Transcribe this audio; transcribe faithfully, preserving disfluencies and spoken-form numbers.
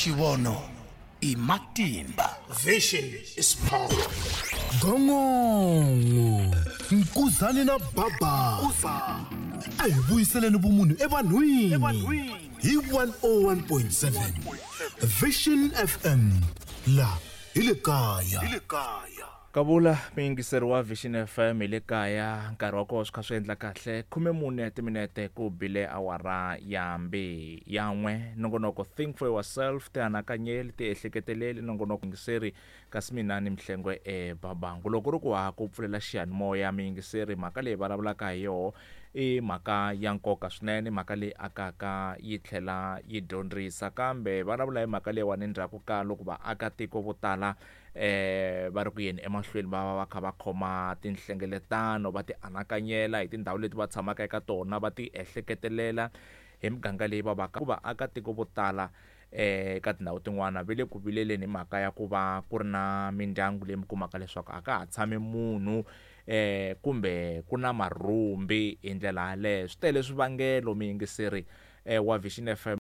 Xivono i matimba. Vision is power. Gongongo Nkuzani na Baba a hi vuyiseleni vumunhu evanhwini hi one oh one point seven Vision F M la hi le kaya. Kavula muyingiseri wa Vision F M hi le kaya, nkarhi wa kona swi kha swi endla kahle khume mune timinete ku bile awara ya mbi ya n'we. Nongonoko Think for Yourself, tianakanyeli, tiehleketeleli, nongonoko yingiseri kasi mina ni Mhlengwe e Babangu. Loko ri ku ha ku pfulela xiyanimoya muyingiseri, mhaka leyi vulavulaka hi yoho i mhaka ya nkoka swinene, mhaka leyi akaka yi tlhela yi dyondzisa, kambe vulavula hi mhaka leyiwani endzhaku ka loko vaakatiko vo tala eh va ri ku yeni emahlweni va va va kha va khoma tinhlengeletano, va ti anakanyela hi tindhawu leti va tshamaka eka tona, va ti ehleketelela hi miganga leyi va vaka. Ku vaakatiko vo tala eh ka tindhawu tin'wana va le ku vileleni hi mhaka ya ku va ku ri na mindyangu leyi mi kumaka leswaku a ka ha tshami munhu eh kumbe ku na marhumbi hi ndlela yaleyo. Swi tele swivangelo muyingiseri eh wa Vision F M.